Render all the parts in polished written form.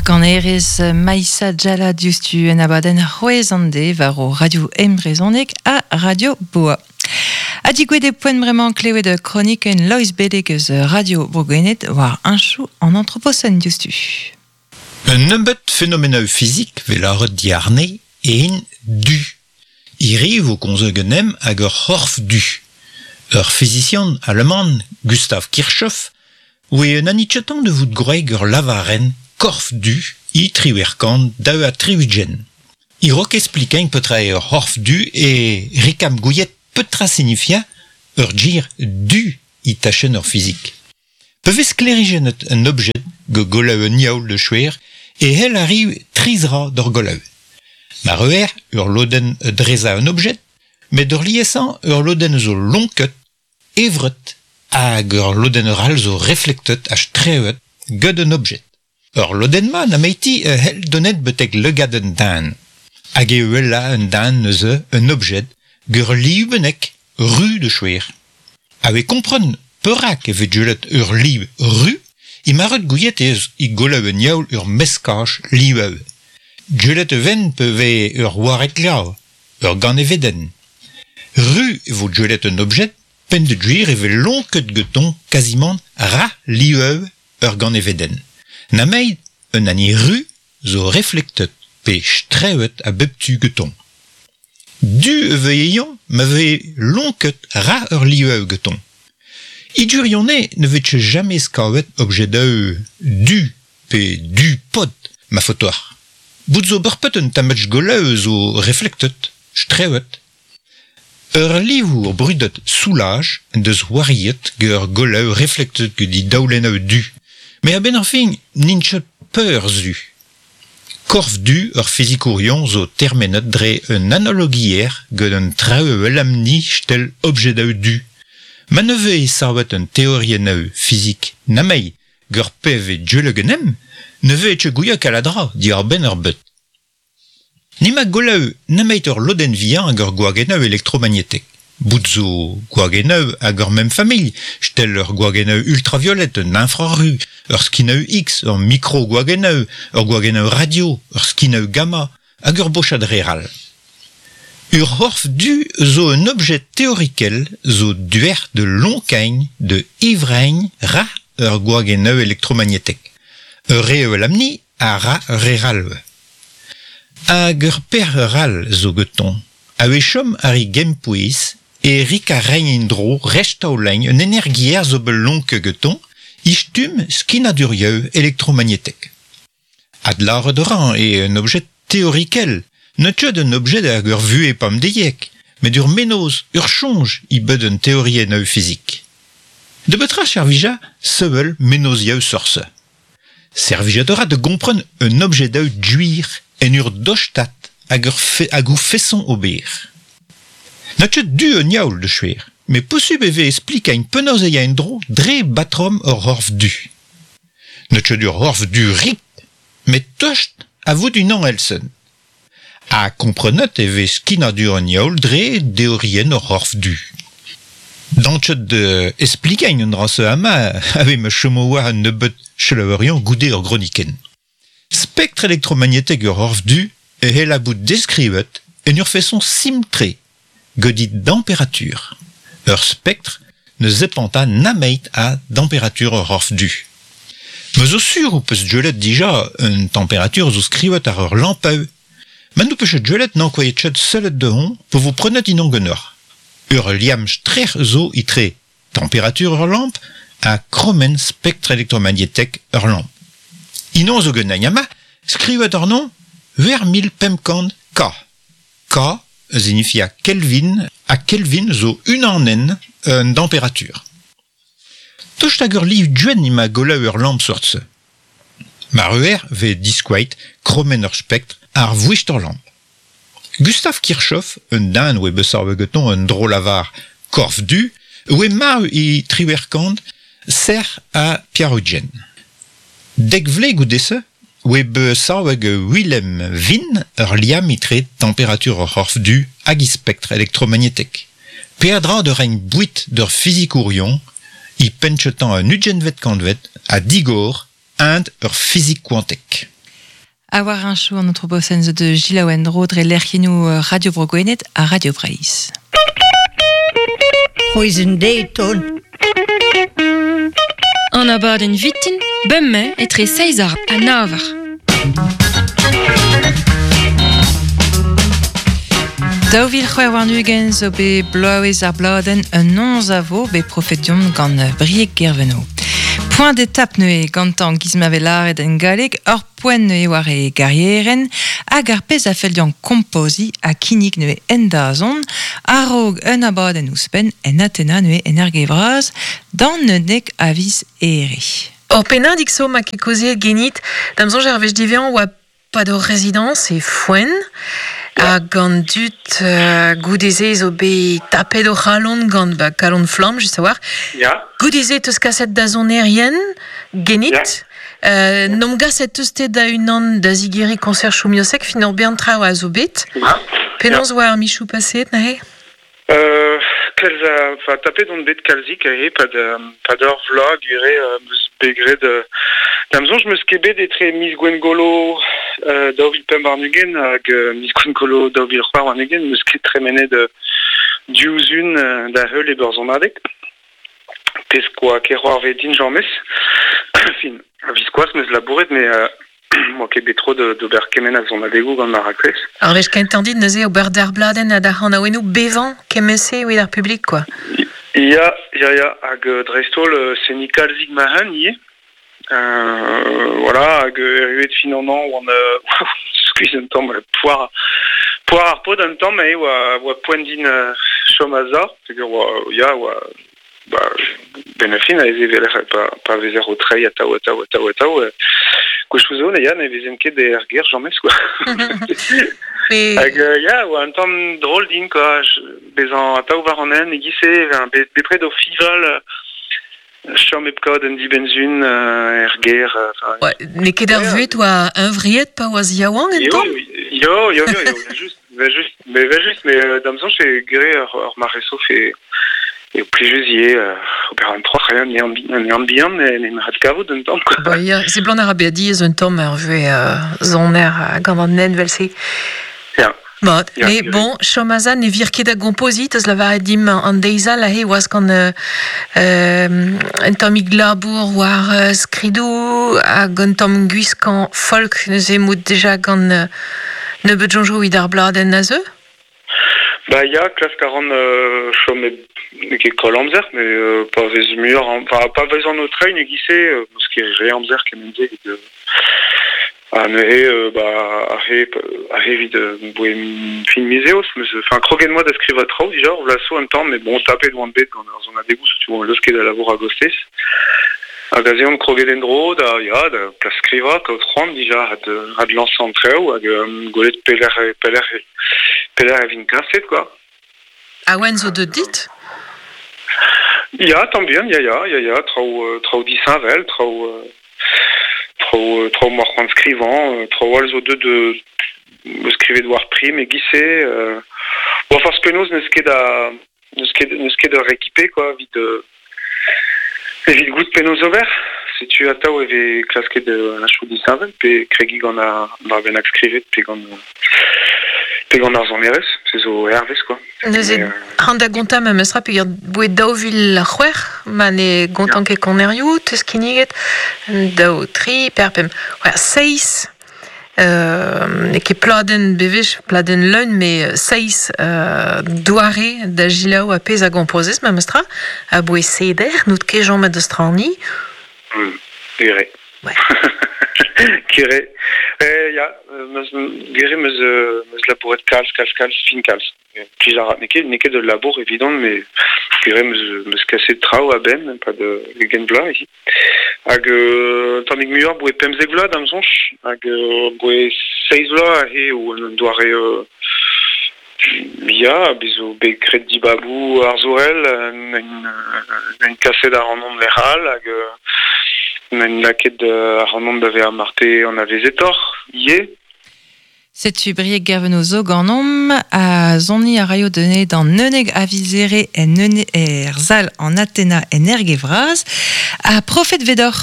Kanerez Maïssa Djala diouzhtu en abadenn C'hwezh an de war o radio embrezhoneg ha Radio Boa. Ha digouet eo poent bremañ klevet kronikenn Loeiz Beleg eus Radio Bro-Gwened war heñchoù an antroposen diouzhtu. Un nebeud fenomenoù fizik 'vez lâret diàrne int du. Hiriv vo komzet ganemp ag ur c'horf du. Ur fizisian alaman, Gustav Kirchhoff, oe un anitchetañ da vout gwreg ur lavarenn korf du e 1862. E-raok esplikeñ petra eo ur c'horf du e rikam gouiet petra signifia ur gir du e tachenn ur fizik. Pa vez sklêrijennet un objed gant golaou un yaoul da skouer e c'hell arriv tri zra d'ur golaou. Mar eur ur lodenn drezañ un objed, met ur liesañ ur lodenn zo lonket, evret hag ur lodenn arall zo reflektet ha strewet gant un objed. Ur lodenn-mañ nemeti a c'hell donet betek lagad un den. Hag e wella un den neuze un objed gant ur liv bennak ru da skouer. A vez kompren perak e vez gwelet ur liv ru emañ ret gouiet ez e golaou un yaoul ur meskaj livañ. Gwelet e vent pe vez ur wareg-glav, ur ganevedenn. Ru e vo gwelet un objed peogwir e vez lonket gantañ kazimant ra livañ ur ganevedenn. Nameit un hani ru zo reflektet pe strewet a bep tu gantañ. Du e vez-eñ ma vez lonket ra ur liv gantañ. E gwirionez ne vez ket james kavet objedoù du pe du-pod ma faot deoc'h. Bout zo bepred un tammig golaou zo reflektet, strewet. Ur livour brudet Soulages en deus c'hoariet gant ur golaou reflektet gant e daolennoù du. Met a-benn ar fin n'int ket peurzu. Korf du ur fizikourion zo termenet dre un analogiezh gant an traoù elamni stel objedoù du. Ma ne vez savet un teoriennoù fizik nameit gant pezh 'vez gwelet ganemp ne vez ket gouiet kalz a dra diwar-benn ar bed. N'emañ golaou nemet ur lodenn vihan hag ur gwagennoù elektromagnetek. Bout zo gwagennoù hag ur mem familh, stel ur gwagennoù ultraviolet, un infraru, ur skinoù X, ur mikrogwagennoù, ur gwagennoù radio, ur skinoù gamma hag ur bochad re all. Ur c'horf du zo un objed teorikel zo duec'h da lonkañ da ivreiñ ra ur gwagennoù elektromagnetek. Ur re evel amni a ra ur re all. Hag ur perzh all zo gantañ. A-wechoù ar re gempouez e rik a reiñ en-dro restaoleñ un energiezh zo bet lonket gantañ e stumm skinadurioù elektromagnetek. Adlâret a ran eo un objed teorikel, n'eo ket un objed hag ur vuhez pemdeziek, met ur mennozh, ur soñj e bed un teoriennoù fizik. Da betra servija sevel mennozhioù seurt-se? Servijet a ra da gompren un objedoù gwir en ur dostad hag ur hag o feson ober. N'eo ket du un yaoul da skouer, met posubl e vez esplikañ penaos e ya en-dro dre batrom ur c'horf du. N'eo ket ur c'horf du rik, met tost a vout unan èl-sen. Ha komprenet e vez skinadur an yaoul dre deorienn ur c'horf du. Dañchet da esplikañ an dra-se amañ a vez ma chomo war un nebeud selaouerion goude ur gronikenn. Spektr elektromagnetek ur c'horf du e c'hell bout deskrivet en ur feson simpl-tre, gant e temperatur. Ur spektr ne zepanta nameit a temperatur ur c'horf du. Me zo sur ho peus gwelet dija un temperatur zo skrivet àr ur lampaou. Ma n'ho peus ket gwelet n'ankouait ket sellet dehon pa vo prenet unan ganeoc'h. Ur liamm strec'h zo etre temperatur ur lamp ha kromenn spektr elektromagnetek ur lamp. Unan zo ganin amañ, skrivet àrnon 8500 K. K a signifia Kelvin ha Kelvin zo unanenn un temperatur. Tost hag ur liv gwenn emañ golaou ur lamp seurt-se. Mar eur vez diskoueit kromenn ur spektr ar voest ur lamp. Gustav Kirchhoff, un den oe bet savet gantañ un dro-lavar korf du, oe marv e 1877. Dek vloaz goude-se oe bet savet gant Wilhelm Wien ur liamm etre temperatur ur c'horf du hag e spektr elektromagnetek. Peadra da reiñ boued d'ur fizikourion e penn-kentañ an ugentvet kantved ha digor int ur fizik kwantek. A war un chou an anthropocène zo de Gilles Dro dre lec'hiennoù Radio Bro Gwened ha Radio Breizh. C'hwezh un deiz ton. An abadenn vitin, bemdez etre seizh eur ha nav eur. 2026 zo bet bloavezh ar bladenn un noz a vo bet profet deomp gant Brieg Guerveno. Point d'étape neuze gantañ giz ma vez lâret en galleg, ur poent neuze war e garierenn hag ar pezh a fell deomp kompoziñ ha kinnig neuze en dazont a-raok un abadenn ouzhpenn en Atena neuze en Erge-Vras d'an 11 a viz Here. Ur pennadig zo ma ket kaozeet genit, da'm soñj ar wech diwezhañ oa pad hor rezidañs e Foenn hag an dud goude-se zo bet tapet o c'halon gant ba, kalon flamm just a-walc'h. Ya. Goude-se 'teus kaset da sonerien genit. Ya. N'omp gaset teus te da unan da zigeriñ koñser Choumiosek fin ur bern traoù a zo bet. Ya. Penaos oa ar michoù paseet neuze? Kalz a, enfin, tapet on bet kalzik aze pad, pad ur vloaz gure 'm eus bet graet da'm soñj 'm eus ket bet etre miz Gwengolo 2025 hag miz Gwengolo 2026 'm eus ket tremenet diouzh un da heul e beurzomadeg. Pezh koa ket c'hoarvezet din james. Fin, a-viskoazh 'm eus labouret met 'moa ket bet tro d'ober kement a sonadegoù gant ma raktres. Ar wech kentañ dit neuze ober d'ar bladenn ha d'ar c'hanaouennoù bevañ kement-se evit ar publik quoi. Ya, ya, ya, hag dreist-holl seniñ kalzik ma-un ivez. Voilà, hag erruet fin an hañv oan skuizh un tamm poar poar ar paotr un tamm eo oa oa poent din chom a-sav peogwir oa ya oa ba benn ar fin aze evel pa pa vezer o treiñ atav atav atav atav gwechoù zo ya ne vezen ket er gêr james quoi. Hag ya oa un tamm drol din quoi bezañ atav war an hent e-giz-se bepred o fiñval chom hep kaout un dibenn-sizhun er gêr. Ouais, n'eo ket ar vuhez oa huñvreet pa oas yaouank un tamm? Yo, yo, yo, yo, just, juste, mais juste, mais da'm soñj eo gre ur mare sof eo plijus ivez ober an troc'h an an bihan ne ret kavout un tamm quoi. Ba ya, seblant a ra bezañ diaes un tamm ar vuhez soner gant an hent 'vel-se. Ya. Mat, mais bon, chom aze ne vir ket da gompoziñ, teus lavaret dimp an deiz all aze oas gant un tammig labour war skridoù hag un tamm gwiskañ folk neuze mout deja gant nebeut soñjoù evit ar bladenn a zeu? Ba ya, klask a ran chom hep n'eo ket koll amzer, mais pa vez muioc'h, enfin pa vez an o treiñ e-giz-se, n'eus ket re amzer kement-se evit Ha neuze ba aze aze evit boe fin miz eost 'meus enfin kroget 'moa da skrivañ traoù dija ur bloaz zo un tamm met bon tapet oan bet gant ar sonadegoù setu oan leusket da labour a-gostez. Hag aze on kroget en-dro da ya da klask skrivañ kaout c'hoant dija adlañsañ an traoù hag gwelet pelec'h pelec'h pelec'h e vin kaset quoi. Awen zo deuet dit? Ya, tamm bihan, ya, ya, ya, ya, traoù traoù disheñvel, traoù traoù traoù 'moa c'hoant skrivañ, traoù all zo deuet de skrivet war prim e-giz-se. Bon, forzh penaos n'eus ket a n'eus ket n'eus ket ur rekipe quoi evit evit goût penaos ober. Setu atav e vez klasket un chou disheñvel pe kregiñ gant ar dra bennak skrivet pe gant pe gant ar sonerezh, se zo hervez quoi. Neuze, ran da gontañ memes tra peogwir boe 2006 ma ne gontan ket konerioù, teus kinniget daou, tri, per, pemp, ouais, seizh n'eo ket pladenn bewech, pladenn leun, met seizh doare da selaou ar pezh a gompozez memes tra, aboe seder, n'out ket chomet da straniñ. Gere. Ouais. Gere. Ya, meus gere meus meus labouret kalz, kalz, kalz, fin kalz. Plij a ra, n'eo ket, n'eo ket ul labour evidon, met gere meus meus kaset traoù a-benn, pad ugent vloaz ici. Hag un tammig muioc'h boe 15 vloaz da'm soñj, hag boe seizh vloaz aze eo un doare ya, bez zo bet graet dibaboù arzourel, en kaset ac'hanomp lec'h all hag en lakaet ac'hanomp da vezañ marte anavezetoc'h ivez. Setu brieg gerveno zo ganom a zoni a raio dene d'an neuneg avizere en neune er zal an Athena en ergevraz a profet vedor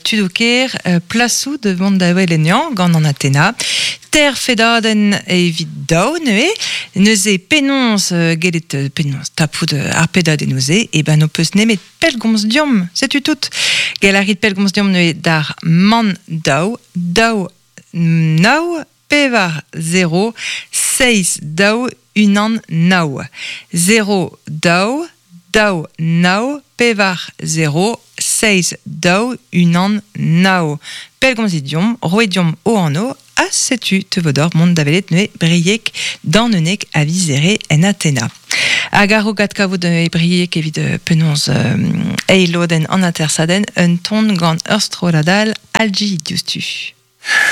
tudoker plasou de mont da welenian gant an Athena ter fedaden evit daou neue neuze penons gelet penons tapout ar pedaden neuze e ben no peus nemet pelgomz diom setu tout. Gelarit pelgomz diom neue d'ar man daou daou nao pevar 0 6 daou unan nao 0 daou daou nao pevar 0 6 daou unan nao Pelgomz idiom, roediom o anno, a setu te vodor mont davelet neue briek dan unek a vizere en Athena. Hag ar gat kavout e briek evit penons eiloden an atersaden un ton gant ur stroladal algi dioustu.